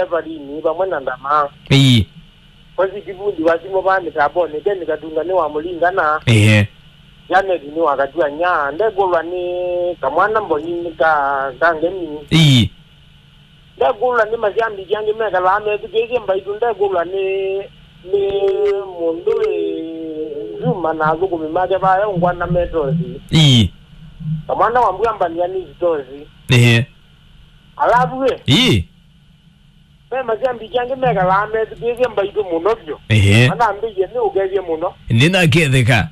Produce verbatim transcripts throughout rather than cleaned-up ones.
Evalini vamwe na Ndama. Ii. Kosi Kivundi wa simũ vaa mĩtambonĩ, Ken Katunga nĩ wa Mũlingana. Ĩĩ. Janet nĩ wa Katuanya. Ndekũlwa nĩ kamwana Mboni nĩ ka, ka Ngemi. Ii. Ndekũlwa nĩ masyambiki angĩ mekalaa methukĩĩsye mbaitũ. Ndekũlwa nĩ, nĩ mũndũ wĩ Nzuma na athũkũmi make vaya ũngwana metosi. Ii. Kamwana wa mbua mbania nĩ sitosi. Ĩĩ. Alavu ĩ. Ii. Ve masyambiki angĩ mekalaa methukĩĩsye mbaitũ mũno vyũ. Ehe. Manambĩie nĩ ũkethye mũno. Nĩnaketheka.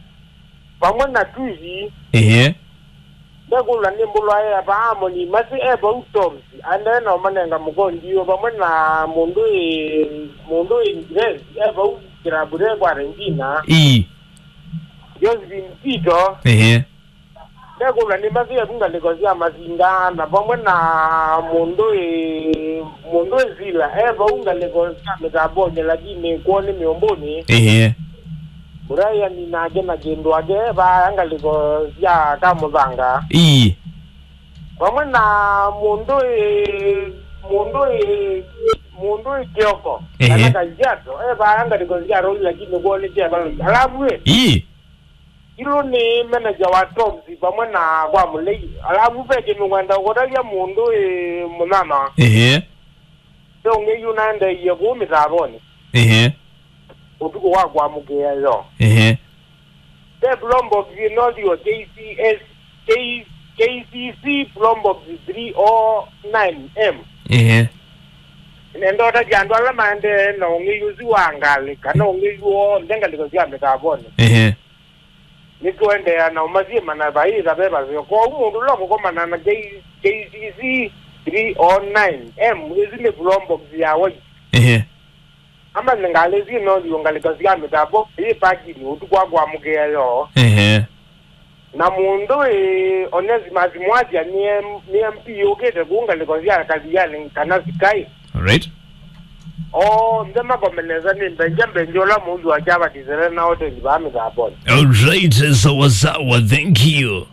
Vamwe na Twisi. Ehe. Ndekũlwa nĩ mbũlwa ya vaa Amoni Masi e vau Toms. Aendee na ũmanenga mũkondiũ vamwe na mũndũ ĩ, mũndũ ĩ Grace e vau kĩlabu kwa Regina. Ii. Josephine Tito. Ehe. Ndekũlwa nĩ mathĩe vu ngalĩko sya masinda na vamwe na mũndũ ĩ, mũndũ ĩ Sila e vau ngalĩko sya mĩtambonĩ, lakini kwoo nĩ mĩũmbũnĩ. Ĩĩ. Brian nake na kĩndũ ake vaya ngalĩko sya Kamũthanga. Ii. Vamwe na mũndũ ĩ, mũndũ ĩ, mũndũ ĩ Kioko, ĩĩ, kana Kajiado e vaya ngalĩko sya Roli, lakini kwoo nĩ kya Valley. Alavu ĩ. Ii. Ilo nĩ manager wa Toms vamwe na kwa Mũlei. Alavu ve kĩndũ ngwenda ũkũtavya mũndũ ĩ mũnyanya. Ehe. Ve ũng'ei ũnaendeeie kũu mĩtambonĩ. Ehe. Ũtukũ wa kũamũkĩa yo. Ehe. Ve Blombox ĩno thio K C S, K, K C C Blombox three oh nine M. Ehe. Nenda ũtavya andũ ala maendee na ũng'ei ũsu wa ngalĩ, kana ũng'ei woo, nde ngalĩko sya mĩtambonĩ. Ehe. Nĩtũendeea na ũmasyĩma na vaĩ ĩtha ve vaseo. Kwoou mũndũ ũla ũkũkomana na K-, K C C three oh nine M, ĩsu nĩ Blombox ya white. Ehe. Amanye ngalĩ ĩsu ĩno yĩũngalĩka sya mĩtambo, yĩ parking ũtukũ wa kũamũkĩa yoo. Ehe. Na mũndũ ĩ Onesimus Mwasya nĩ M-, nĩ M P ũkĩte kũu ngalĩko sya Kathiani kana Sikai. Alright. Onthe makomenesa nĩ mbenja mbenja ũla mũndũ akyavatĩsele na oteli vaa mĩtambonĩ. Alright, sawa sawa, thank you.